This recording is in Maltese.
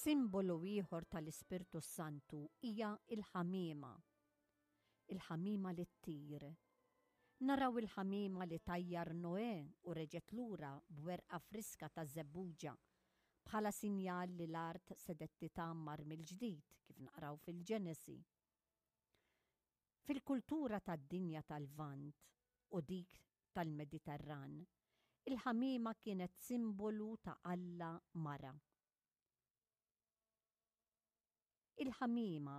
Simbolu ieħor tal-Ispirtu s-Santu hija l-ħamiema. Il-ħamiema li ttir. Naraw il-ħamiema li tajjar Noè u reġgħet lura b'werqa friska ta' żebbuġa bħala sinjal li l-art sedet titgħammar mill-ġdid kif naqraw fil-Ġenesi. Fil-kultura tad-dinja tal-Lvant u dik tal-Mediterran, il-ħamiema kienet simbolu ta' alla mara. Il-ħamiema.